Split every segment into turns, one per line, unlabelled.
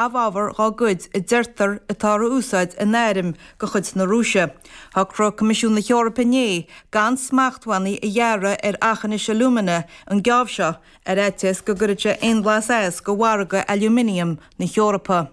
Amhábhar dhá gcuid a deirtear atá á úsáid in airm de chuid na Rúise. Shocraigh Coimisiún na hEorpa inné gan smachtbhannaí a ghearradh ar aughinish alumina an geábh seo, ar fhaitíos go gcuirfeadh sé aon bhlas as go mhargadh aluminiam na hEorpa.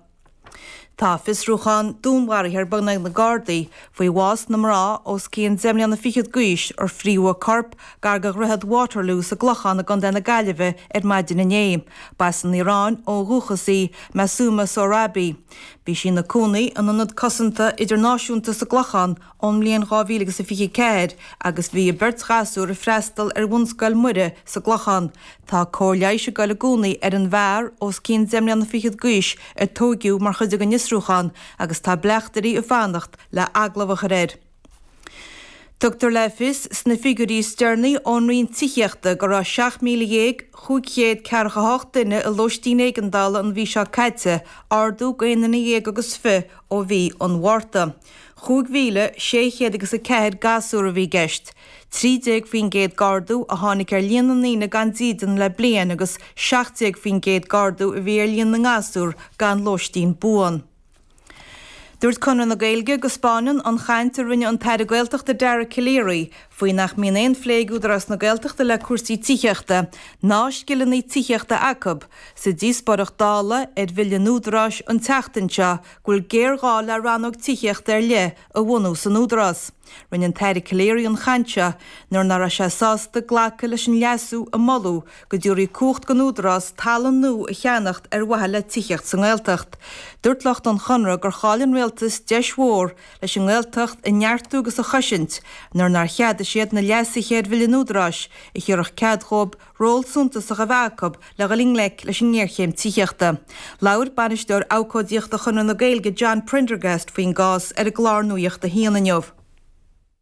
Tá fiosrúchán dúnmharaithe ar bun ag na Gardaí faoi bhás na mná os cionn deich mbliana fichead d'aois ar fríothadh a corp gar do Dhroichead Waterloo sa gClochán i gContae na Gaillimhe ar maidin inné. Ba as an Iaráin ó dhúchas í Masuma Sohrabi. Bhí sí ina cónaí in Ionad Cosanta Idirnáisiúnta sa gClochán ón mbliain 2024 agus bhí a beirt ghasúr ag freastal ar Bhunscoil Muire sa gClochán. Tá cóir leighis ag goil i gcónaí ar an bhfear os cionn deich mbliana fichead d'aois a tóigeadh mar chuid den fhiosrúchán agus tá bleachtairí ag fanacht le agallamh a chur air. Tugtar le fios sna figiúirí is deireanaí ón Roinn Tithíochta go raibh 17,548 duine i lóistín éigeandála an mhí seo caite, ardú go aon duine dhéag agus fi ó mhí an Mhárta. 5,600 agus 4 gasúr a bhí i gceist. 13% d'ardú a tháinig ar líon na ndaoine gan dídean le bliain agus 17% d'ardú a bhí ar líon na ngasúr gan lóistín buan. Dúirt Conradh na Gaeilge go 'spáineann an chaint a rinne an tAire Gaeltachta Dara Calleary faoi nach mbíonn aon phlé ag Údarás na Gaeltachta le cúrsaí tithíochta ná scileanna tithíochta acu sa díospóireacht Dála ar Bhille an Údaráis an tseachtain seo go bhfuil géarghá le rannóg tithíochta ar leith a bhunú san Údarás. Rinne an tAire Calleary an chaint seo nuair nach raibh sé sásta glacadh leis an leasú a moladh go dtabharfaí cumhacht don Údarás talamh nua a cheannacht ar mhaithe le tithíocht sa nGaeltacht. Dúirt lucht an Chonradh gur chaill an Rialtas deis mhór leis an nGaeltacht a neartú agus a chosaint nuair nár cheadaigh siad na leasuithe ar Bhille an Údaráis a thabharfadh cead dhóibh ról suntasach a bheith acu le dhul i ngleic leis an ngéarchéim tithíochta. Labhair Bainisteoir Abhcóidíochta Chonradh na Gaeilge John Prendergast faoin gcás ar an gclár Nuacht a hAon inniu.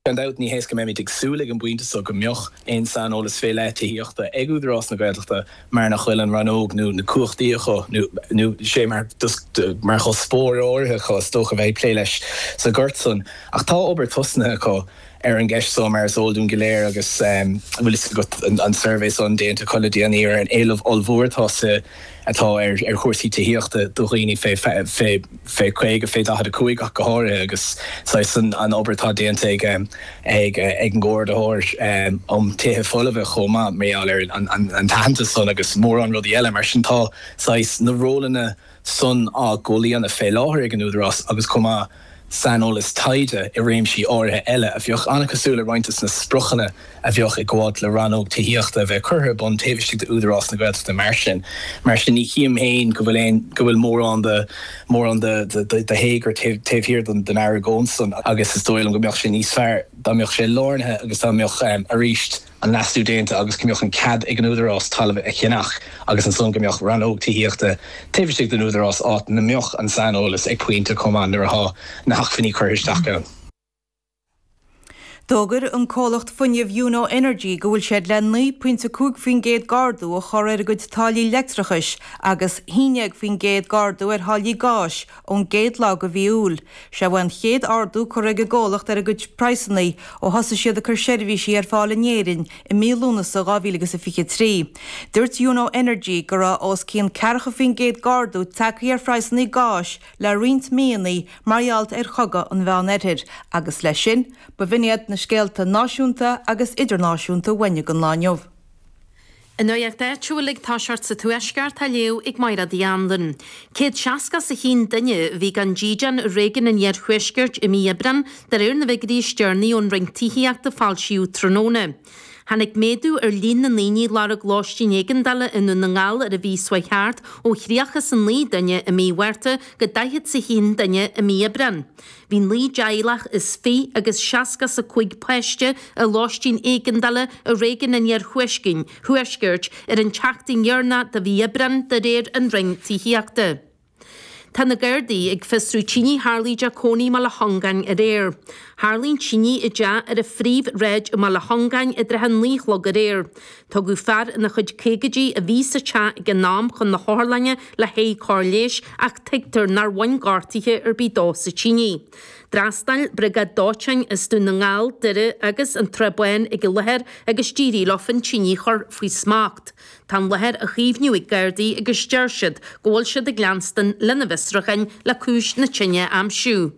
Gan dabht, ní hé go mbeimid ag súil ag an bpointe seo go mbeadh aon saineolas fé leith tithíochta ag Údarás na Gaeltachta mar nach bhfuil an rannóg nó na cumhachtaí acu nó nó sé mar mar chuspóir áirithe acu is dócha bheith ag plé leis sa ghort san. Ach tá obair tosnaithe acu. ar an gceist so, mar is eol dúinn go léir agus an bhfuil fhios agat an suirbhé san déanta acu le déanaí ar an éileamh ollmhór atá sa atá ar ar chúrsaí tithíochta do dhaoine fé fé fé 50, fé 45 ach go háirithe agus saghas an an obair atá déanta ag ag ag an gComhordaitheoir um Tithe Folmha chomh maith mar gheall ar an an an t-aitheantas san agus mórán rudaí eile mar sin tá saghas na rólanna san á gcomhlíonadh fé láthair ag an Údarás agus chomh maith saineolas taighde i réimsí áirithe eile a bheadh an-chosúil le roinnt de na spriocanna a bheadh ag gabháilt le rannóg tithíochta a bheith curtha ar bun taobh istigh d'Údarás na Gaeltachta mar sin. Mar sin ní chím féin go bhfuil aon, go bhfuil mórán de, mórán de, de, de théagar taobh, taobh thiar den, den argóint san agus is dóigh liom go mbeadh sé níos fearr dá mbeadh sé lárnaithe agus dá mbeadh arís, an leasú déanta agus go mbeadh an cead ag an Údarás talamh a cheannach agus ansan go mbeadh rannóg tithíochta taobh istigh den Údarás áit 'na mbeadh an saineolas ag pointe chomh maith nuair athá na hacmhainní curtha isteach ann.
D'fhógair an comhlacht fuinnimh Yuno Energy go bhfuil siad le 9.5% d'ardú a chur ar a gcuid táillí leictreachais agus 11% d'ardú ar tháillí gáis ón gcéad lá de mhí Iúil. Seo é an chéad ardú curtha ag an gcomhlacht ar a gcuid praghsanna ó thosaigh siad ag cur seirbhísí ar fáil in Éirinn i mí Lúnasa 2023. Dúirt Yuno Energy go raibh os cionn 40% d'ardú tagtha ar phraghsanna gáis le roinnt míonna mar gheall ar chogadh an Mheán-Oirthir agus leis sin, ba bh'in iad na scéalta náisiúnta agus idirnáisiúnta uainne don lá inniu.
An nuacht áitiúil ag toiseacht sa Tuaisceart á léamh ag Mairéad Uí Anluain. 161 duine a bhí gan dídean i réigiún an Iarthuaiscirt i mí Aibreáin, de réir na bhfigiúirí is deireanaí ón Roinn Tithíochta a foilsíodh tráthnóna. Tháinig méadú ar líon na ndaoine a lorg lóistín éigeandála i nDún na nGall ar an mhí seo chuaigh thart ó 39 duine i mí Mhárta go 41 duine i mí Aibreáin. Bhí 9 dteaghlach is fi agus 65 páiste i lóistín éigeandála i réigiún an Iarthuaiscirt ar an tseachtain dheireanach de mhí Aibreáin, de réir an Roinn Tithíochta. Tá na Gardaí ag fiosrú tine a tharlaigh i dteach cónaí i mBaile Chongáin aréir. Tharlaigh an tine i dteach ar an phríomhshráid i mBaile Chongáin i dtrátha a 9 a chlog aréir. Tugadh fear ina chuid caogaidí a bhí sa teach ag an am chun na hotharlainne le haghaidh cóir leighis ach tuigtear nár bhain gortuithe ar bith dó sa tine. D'fhreastail Briogáid Dóiteáin as Dún na nGall, Doire agus an tSrath Bán ag an láthair agus d'éirigh leo an tine a chur faoi smacht. Tá an láthair á chaomhnú ag Gardaí agus deir siad go bhfuil siad ag leanstan lena bhfiosrúcháin le cúis na tine a aimsiú.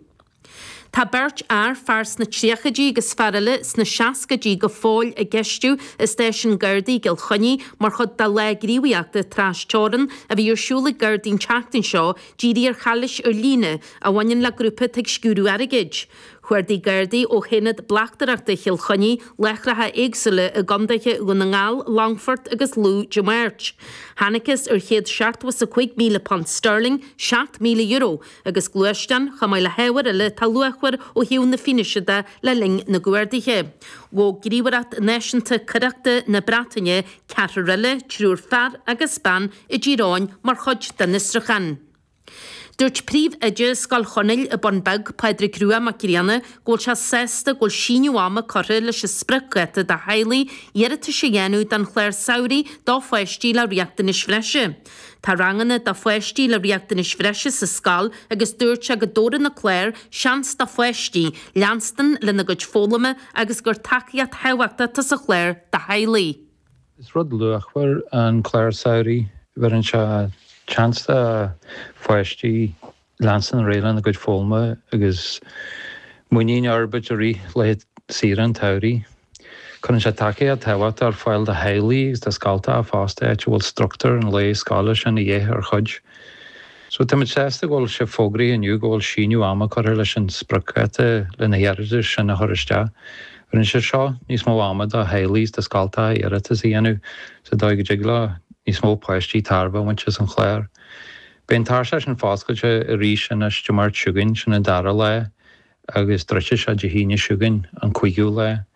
Tá beirt fhear, fear sna tríochaidí agus fear eile sna seascaidí go fóill á gceistiú i stáisiún Gardaí i gCill Chainnigh mar chuid de lá gníomhaíochta tras-teorann a bhí ar siúl ag Gardaí an tseachtain seo dírithe ar chalaois ar líne a bhaineann le grúpa atá ag sciúradh airgid. Chuardaigh Gardaí ó hAonad Bleachtaireachta Chill Chainnigh láithreacha éagsúla i gcontaetha Dhún na nGall, Longfort agus Lú Dé Máirt. Thángthas ar £175,000 sterling, €7,000, agus gluaisteán, chomh maith le hábhair eile atá luachmhar ó thaobh na fianaise de le linn na gcuarduithe. Ghabh Gníomhaireacht Náisiúnta Coireachta na Breataine ceathrar eile, triúr fear agus bean, i dTír Eoghain mar chuid den fhiosrúchán. Dúirt Príomhoide Scoil Chonaill i mBun Beag, Pádraig Rua Mac Grianna, go bhfuil sé sásta go bhfuil síneadh ama curtha leis an spriocdháta do theaghlaigh iarratais a dhéanamh don chlár samhraidh do pháistí le riachtanais bhreise. Tá ranganna do pháistí le riachtanais bhreise sa scoil agus dúirt sé go dtabharfaidh an clár seans do pháistí leanstan lena gcuid foghlama agus gur tacaíocht thábhachtach atá sa chlár do theaghlaigh.
Is rud luachmhar an clár samhraidh. Bheireann sé seans do pháistí leanstan ar aghaidh lena gcuid foghlama agus muinín a fhorbairt i rith laetha saoire an tsamhraidh. Cuireann sé tacaíocht thábhachtach ar fáil do theaghlaigh agus do scoltacha fosta, áit a bhfuil struchtúr an lae scoile sin a dhíth ar chuid. So táimid sásta go bhfuil sé fógraithe inniu go bhfuil síneadh ama curtha leis an spriocdháta le na hiarratais sin a chur isteach. Bheireann sé seo níos mó ama do theaghlaigh is do scoltacha iarratas a dhéanamh sa dóigh go dtig le níos mó páistí tairbhe a bhaint as an chlár. Beidh an tairseach sin foscailte arís anois Dé Máirt seo chugainn, sin an dara lá, agus druidfidh sé Dé hAoine seo chugainn, an cúigiú lá.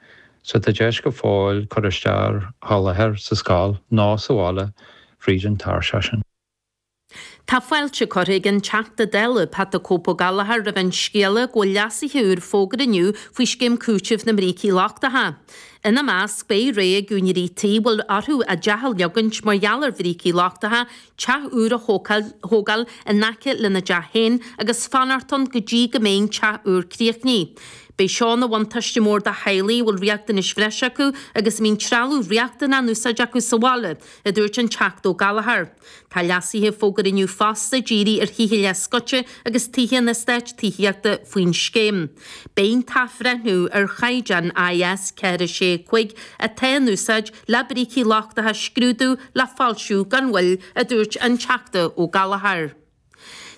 So tá deis go fóill cur isteach ar sholáthar sa scoil nó sa bhaile fríd an tairseach sin.
Tá fáilte curtha ag an Teachta Dála, Pat 'The Cope' Ó Gallchóir roimh an scéala go bhfuil leasuithe úr fógartha inniu faoi scéim cúitimh na mbrící lochtacha. Ina measc, beidh rogha ag úinéirí tí a bhfuil orthu a dteach a leogaint mar gheall ar bhrící lochtacha, teach úr a thógáil in aice lena dteach féin agus fanacht ann go dtí go mbeidh an teach úr críochnaithe. Beidh seo ina bhuntáiste mór do theaghlaigh a bhfuil riachtanais bhreise acu agus a mbíonn trealamh riachtanach in úsáid acu sa bhaile, a dúirt an Teachta Ó Gallchóir. Tá leasuithe fógartha inniu fosta dírithe ar thithe leathscoite agus tithe an eastáit tithíochta faoin scéim. Beidh an t-athbhreithniú ar chaighdeán IS 4 6 5 atá in úsáid le brící lochtacha a scrúdú le foilsiú gan mhoill, a dúirt an Teachta Ó Gallchóir.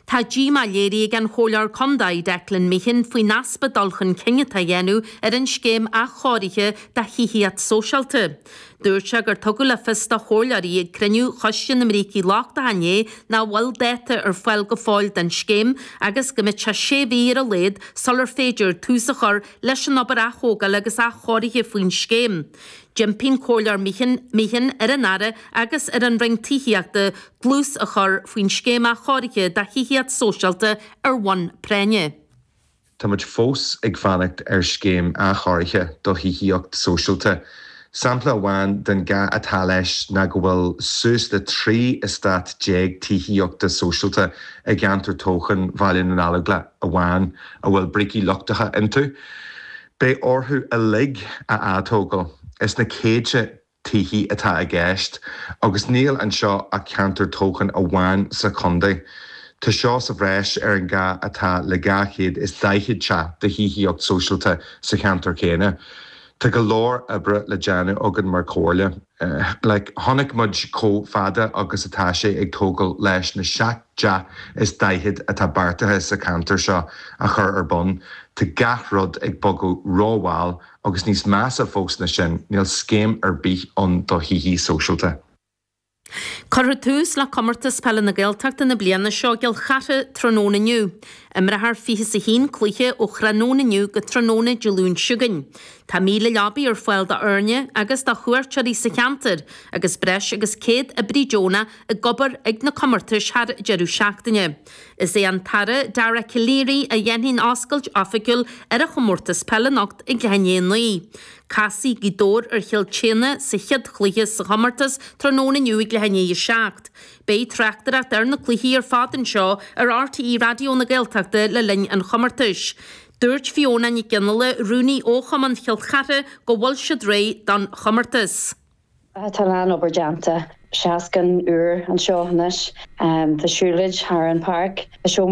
Tá díomá léirithe ag an Chomhairleoir Contae, Declan Meehan, faoin easpa dul chun cinn atá á dhéanamh ar an scéim athchóirithe do thithíocht sóisialta. Dúirt sé gur tugadh le fios do chomhairleoirí ag cruinniú Choiste na mBrící Lochtacha inné nach bhfuil dáta ar fáil go fóill don scéim agus go mbeidh sé sé mhí ar a laghad sular féidir tús a chur leis an obair aththógála agus athchóirithe faoin scéim. D'impigh an Comhairleoir Meehan ar an Aire agus ar an Roinn Tithíochta dlús a chur faoin scéim athchóirithe do thithíocht sóisialta ar bhonn práinne.
Táimid fós ag fanacht ar scéim athchóirithe do thithíocht sóisialta. Sampla amháin den gá atá leis ná go bhfuil suas le 13 eastát tithíochta sóisialta i gceantar toghcháin Bhaile na nGallóglach amháin a bhfuil brící lochtacha iontu. Beidh orthu uilig a atógáil. Is na céadta tithe atá i gceist, agus níl anseo ach ceantar toghcháin amháin sa chontae. Tá seo sa bhreis ar an gá atá le 240 teach de thithíocht sóisialta sa cheantar céanna. Tá go leor oibre le déanamh againn mar chomhairle. Like, chonaic muid chomh fada agus atá sé ag tógáil leis na 7 dteach is 40 atá beartaithe sa cheantar seo a chur ar bun. Tá gach rud ag bogadh rómhall Agus níos measa fós ná sin, níl scéim ar bith ann do thithe sóisialta.
Cuirfear tús le Comórtas Peile na Gaeltachta na bliana seo i gCill Chartha tráthnóna inniu. Imreofar 21 cluiche ó thráthnóna inniu go tráthnóna Dé Luain seo chugainn. Tá 1,000 leabaidh ar fáil d'fhoirne agus do chuairteoirí sa cheantar agus breis agus 100 oibrí deonach ag obair ag na comórtais thar deireadh seachtaine. Is é an tAire Dara Calleary a dhéanfaidh an oscailt oifigiúil ar an chomórtas peile anocht ag leath i ndiaidh a 9. Casfaidh Gaoth Dobhair ar Chill tSéadhna sa chéad chluiche sa chomórtas tráthnóna inniu ag leath i ndiaidh a 7. Beidh tráchtaireacht ar na cluichí ar fad anseo ar RTÉ Raidió na Gaeltachta le linn an chomórtais. Dúirt Fiona Nic Fhionnghaile, Rúnaí Fhochumann Chill Chartha, go bhfuil siad réidh don chomórtas.
Tá a lán obair déanta. Seascann úr anseo anois. Tá siúlóid thar an páirc. Tá seomra.